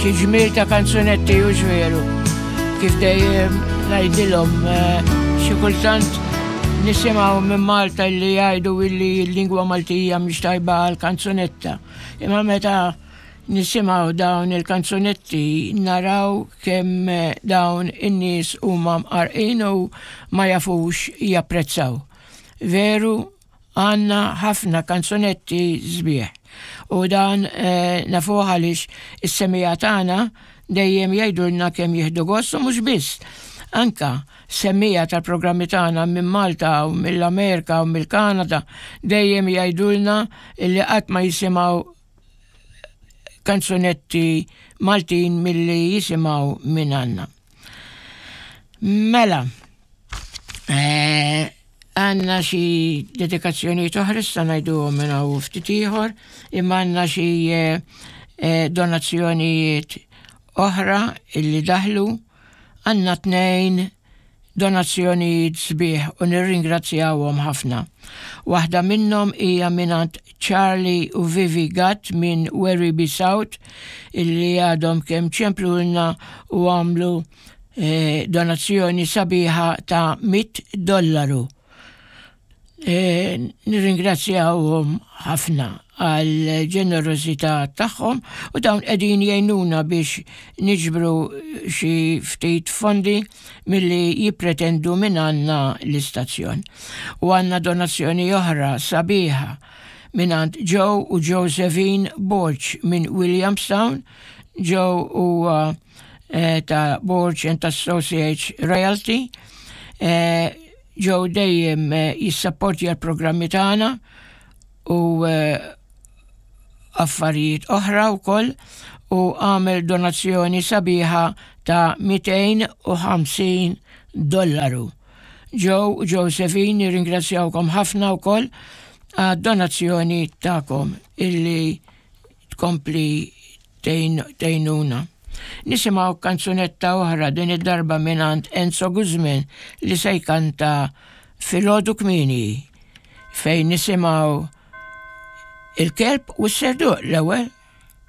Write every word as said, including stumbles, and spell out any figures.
Xi ġmiel ta' kanzunetti, hux veru? Kif dejjem ngħidilhom, eh, xi kultant nisimgħu minn Malta li jgħidu illi l-lingwa Maltija mhix tajba għal kanzunetta. Imma meta nisimgħu dawn il-kanzunetti naraw kemm eh, dawn in-nies huma mqarqin u ma jafux japprezzaw. Veru, għandna ħafna kanzunetti sbieħ. U dan eh, nafuh għaliex is-semmiegħa tagħna dejjem jgħidulna kemm jieħdu gost, u mhux biss. Anka semmiegħa tal-programmi tagħna minn Malta u mill-Amerika u mill-Kanada dejjem jgħidulna illi qatt ma jisimgħu kanzunetti Maltin milli jisimgħu minn għandna. Mela, eh, għandna xi dedikazzjoni oħra, issa ngħidu minn hawn ftit ieħor, imma għandna xi eh, eh, donazzjonijiet oħra illi daħlu. Għandna tnejn donazzjonijiet sbieħ u nirringrazzjawhom ħafna. Waħda minnhom hija mingħand Charlie u Vivi Gatt minn Werribee South, illi għadhom kemm ċemplulna u għamlu eh, donazzjoni sabiħa ta' mitt dollaru. E, nirringrazzjawhom ħafna għal ġenerosità tagħhom u dawn qegħdin jgħinuna biex niġbru xi ftit fondi milli jippretendu minn għandna l-istazzjon. U għandna donazzjoni oħra sabiħa minn Joe u Josephine Borch minn Williamstown. Joe huwa eh, ta' Borch and Associates Realty. Eh, Joe dejjem eh, jissapporti għal-programmi tagħna u eh, affarijiet oħra wkoll u għamel donazzjoni sabiħa ta' mitejn u ħamsin dollaru. Joe u Josephine, nirringrazzjawkom ħafna wkoll għad-donazzjoni tagħkom illi tkompli tgħinuna. Nisimgħu kanzunetta oħra, din id-darba mingħand Enzo Guzman li se jkanta "Filgħodu Kmieni", fejn nisimgħu il-kelb u s-serduq l-ewwel.